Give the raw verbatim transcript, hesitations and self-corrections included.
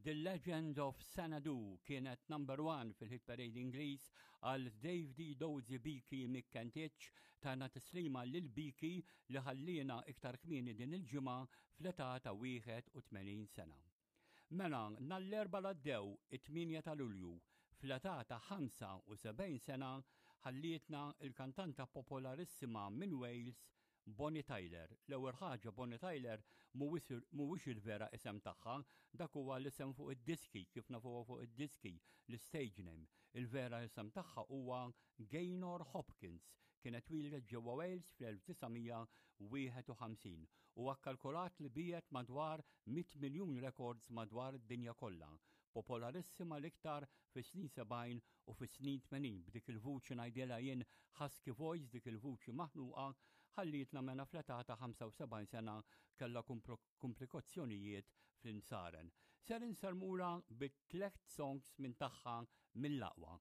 The Legend of Xanadu kienet number one fil-hit parade Ingliż għal Dave D. Dozy Beaky McKentich tana tislima lil Beaky li ħallina iktar kmieni din il-ġimgħa fl-età ta' wieħed u tmenin sena. Mela, nhar l-Erbgħa li għaddew, it-tmienja ta' Lulju, fl-età ta' ħamsa u sebgħin sena, ħallietna il-kantanta popolarissima minn Wales, Bonnie Tyler. L-ewwel ħaġa, Bonnie Tyler mhuwiex il-vera isem tagħha, dak huwa l-isem fuq id-diski, kif nafuha fuq id-diski, l-stage name. Il-vera isem tagħha huwa Gaynor Hopkins. Kienet twieldet ġewwa Wales fl-elf disa' mija wieħed u ħamsin u kkalkulat li biegħet madwar mitt miljun records madwar id-dinja kollha. Popolarissima l-iktar fis-snin sebgħin u fis-snin tmenin b'dik il-vuċi, ngħidilha jien husky voice, dik il-vuċi maħnuqa. Ħallietna mena fl-età ta' ħamsa u sebgħin sena, kellha komplikazzjonijiet fl-imsaren. Ser insellmulha bi tliet songs minn tagħha mill-aqwa.